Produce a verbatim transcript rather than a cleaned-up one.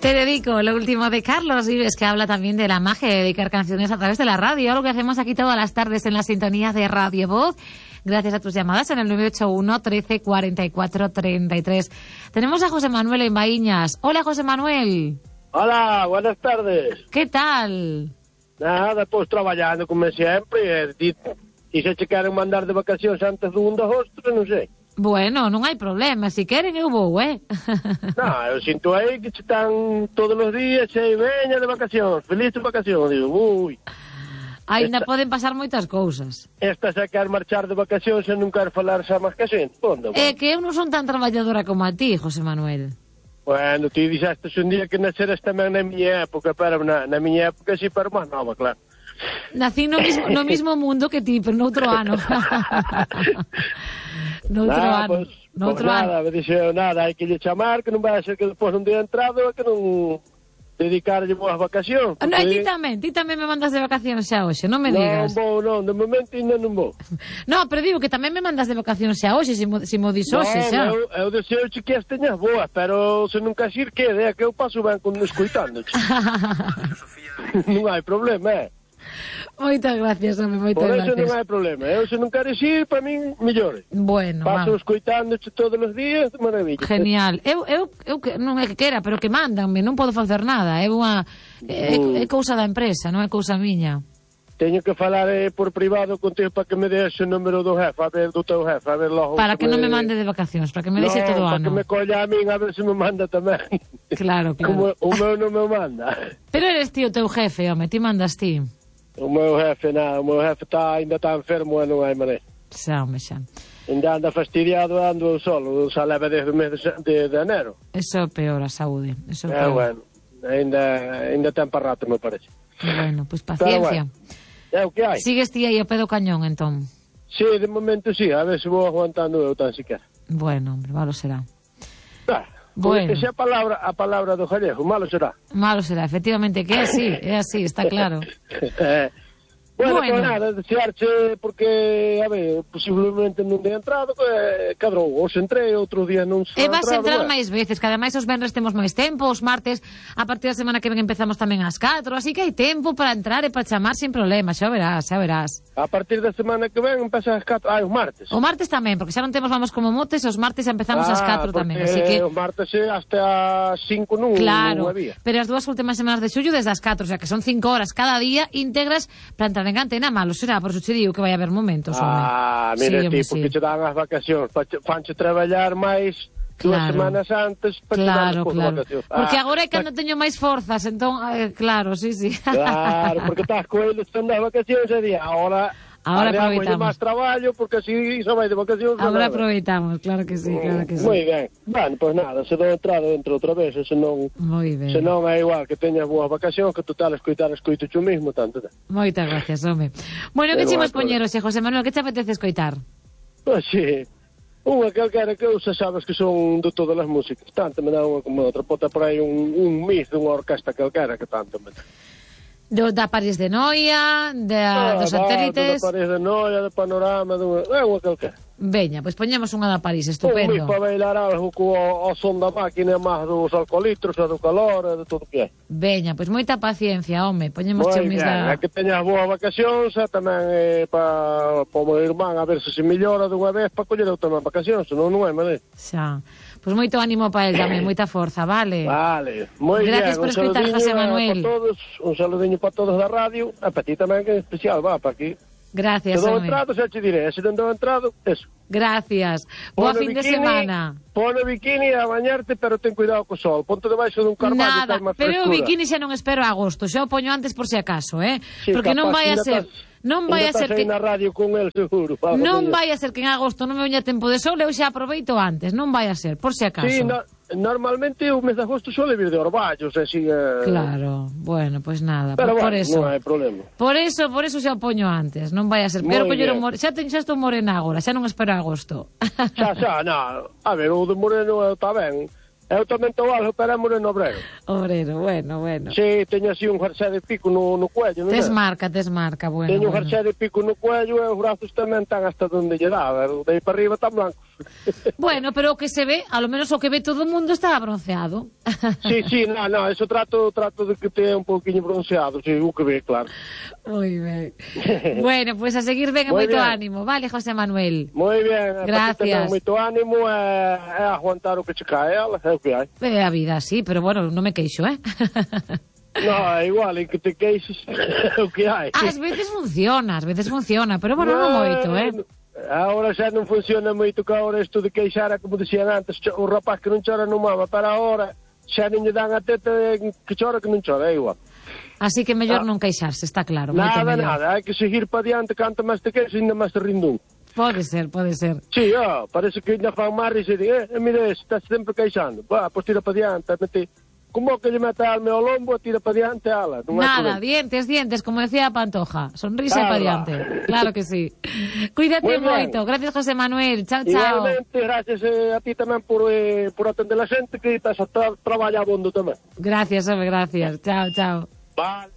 Te dedico lo último de Carlos Vives, que habla también de la magia de dedicar canciones a través de la radio, algo que hacemos aquí todas las tardes en la sintonía de Radio Voz, gracias a tus llamadas en el nueve ocho uno, trece, cuarenta y cuatro, treinta y tres. Tenemos a José Manuel en Baíñas. Hola, José Manuel. Hola, buenas tardes. ¿Qué tal? Nada, pues traballando como sempre, e, e se che queren mandar de vacacións antes do primeiro de agosto, non sei. Bueno, non hai problema, se queren eu vou, eh? Non, eu sinto aí que che están todos os días e veña de vacacións, feliz de vacacións, digo, ui. Ainda esta... poden pasar moitas cousas. Esta se quer marchar de vacacións e non quer falar xa máis que xente, pondo. É que eu non son tan traballadora como a ti, José Manuel. Bueno, ti dixeste un día que naceras tamén na miña época, pero na, na miña época sí, pero máis nova, claro. Nací no mismo, no mismo mundo que ti, pero noutro ano. Noutro nah, ano. Pues, Noutro pues nada, ano. me dixeu, nada, hai que lle chamar, que non vai a ser que depois non día entrado que non dedicarlle boas vacacións. No, e ti tamén, ti tamén me mandas de vacacións xa hoxe, non me digas. Non vou, non, de momento ainda non vou. No, pero digo que tamén me mandas de vacacións xa hoxe, se mo, se mo dis hoxe xa. Non, eu, eu deseo que as teñas boas, pero se non queres ir, quede, é que eu paso ben con escoitándoche. Non hai problema, é. Moitas gracias, home, moitas Por gracias. eso non hai problema. Eu, se non queres ir, para min, mellor. Bueno, paso vamos. escoitándoche todos os días, de maravilla. Genial. Eu, eu, eu non é que quera, pero que mandanme, non podo facer nada. É unha é, é cousa da empresa, non é cousa miña. Teño que falar eh, por privado contigo para que me des o número do jefe, a ver, do teu jefe, a ver logo. Para que non me mande de vacacións, para que me deixe todo o ano. para que me colla a min, a ver se me manda tamén. Claro, claro. Como o meu non me manda. Pero eres ti o teu jefe, home, ti mandas ti. O meu jefe, nada, o meu jefe tá, ainda está enfermo e non hai maneira. Xa, home, xa. Ainda anda fastidiado, ando eu solo, xa leva desde o mes de, de, de enero. Eso é peor, a saúde. Eso é É, peor. bueno, ainda, ainda ten para rato, me parece. Bueno, pois pues paciencia. É o que hai. Sigues ti aí ao pé do cañón, entón? Sí, de momento sí, a ver se vou aguantando eu tan siquiera. Bueno, hombre, malo será. Ah, bueno. Esa é a palabra, a palabra do gallego, malo será. Malo será, efectivamente, que é así, é así, está claro. eh, bueno, bueno. Pues nada, desearche, porque, a ver, posiblemente non de entrado, eh, cadrou, os entrei, outro día non se E vas a entrar bueno. máis veces, que ademais os venres temos máis tempo, os martes, a partir da semana que ven empezamos tamén ás catro, así que hai tempo para entrar e para chamar sin problema, xa verás, xa verás. A partir da semana que ven empeza ás catro, ah, os martes. O martes tamén, porque xa non temos Vamos como Motes, os martes empezamos ah, ás catro tamén, así que... os martes é hasta as cinco non, claro, non había. Pero as dúas últimas semanas de xullo desde as catro, o sea que son cinco horas cada día íntegras para entrar en antena, malo será, por eso te digo que vai haber momentos, home. Ah, mira sí, ti, home, porque sí. te dan as vacacións, fanche traballar máis dúas claro. semanas antes para claro, te claro. vacacións. Porque ah, agora é cando teño máis forzas, entón, eh, claro, sí, sí. Claro, porque estás con eles están das vacacións e día, ahora... Ahora aproveitamos. máis traballo, porque así só vai de vacacións. Agora aproveitamos, claro que sí, claro que sí. Moi ben. Bueno, pois pues nada, se dou entrada dentro outra vez, se non... Moi ben. Se non é igual que teñas boas vacacións, que total escoitar escoito tú mismo, tanto. Moitas gracias, home. Bueno, que chimos poñeros, José Manuel, que te apetece escoitar? Pois sí. Unha calquera que eu xa sabes que son de todas as músicas. Tanto me dá unha como outra. Pota por aí un, un mix dunha orquesta calquera que tanto me dá. Do, da París de Noia, da, ah, dos satélites... Da París de Noia, de Panorama, de unha calquera. Veña, pois poñemos unha da París, estupendo. Un mix para bailar algo co o son da máquina, máis dos alcoholitros, e do calor, e de todo o que é. Veña, pois moita paciencia, home, poñemos che mis da... É que teñas boas vacacións, e tamén eh, para pa o meu irmán, a ver se se mellora dunha vez para coller eu tamén vacacións, senón non é maneira. Xa. Pois moito ánimo para el tamén, moita forza, vale? Vale, moi ben. Gracias por escoitar, José Manuel. Para todos, un saludiño para todos da radio, e para ti tamén que é especial, va, para aquí. Gracias, se dou home. entrado, xa te diré, se non dou entrado, eso. Gracias. Boa fin de semana. Pone bikini a bañarte, pero ten cuidado co sol. Ponte debaixo dun carballo. Nada, pero o bikini xa non espero a agosto, xa o poño antes por si acaso, eh? Sí, porque non vai a ser... Estás... Non vai a ser que na radio con el seguro. Non vai a ser que en agosto non me veña tempo de sol, eu xa aproveito antes, non vai a ser, por si acaso. Sí, no, normalmente o mes de agosto suele vir de orballos, así eh... Claro, bueno, pois pues nada, pero por, bueno, por eso. Non hai problema. Por eso, por eso xa o poño antes, non vai a ser. Pero collero more... xa ten xa estou morena agora, xa non espero agosto. Xa, xa, non. A ver, o de moreno está ben. Eu tamén estou algo, pero é moreno obrero. Obrero, bueno, bueno. Si, teño así un jersey de pico no, no cuello, non? Desmarca, desmarca, bueno. Teño un bueno. jersey de pico no cuello e os brazos tamén están hasta donde lle dá, de aí para arriba tan blanco. Bueno, pero o que se ve, a lo menos o que ve todo o mundo está bronceado. Sí, sí, no, no, eso trato trato de que te un pouquiño bronceado, si, sí, o que ve, claro. Moi ben. Bueno, pois pues a seguir ben e moito ánimo, vale, José Manuel? Moi ben, gracias. Moito ánimo e, e aguantar o que che cae, ela, é o que hai. É a vida, sí, pero bueno, non me queixo, eh? No, é igual, en que te queixes o que hai. Ás veces funciona, ás veces funciona, pero bueno, non moito, eh? Agora xa non funciona moito que agora isto de queixar, como dicían antes, o rapaz que non chora non mama, para agora xa non lle dan a teta que chora que non chora, é igual. Así que mellor ah. non queixarse, está claro. Nada, moito nada, hai que seguir para diante, canto máis te queixes, ainda máis te rindún. Pode ser, pode ser. Sí, oh, parece que ainda fan máis e dicen, eh, mire, estás sempre queixando. Va, pois tira para diante, mete... Como que lle mete a alma ao lombo, tira para diante ala. Non nada, dientes, dientes, como decía Pantoja. Sonrisa ah, para diante. Claro que sí. Cuídate moito. Gracias, José Manuel. Chao, chao. Igualmente, gracias eh, a ti tamén por, eh, por atender a xente que estás a tra traballar abondo tamén. Gracias, hombre, gracias. Chao, chao. Vale.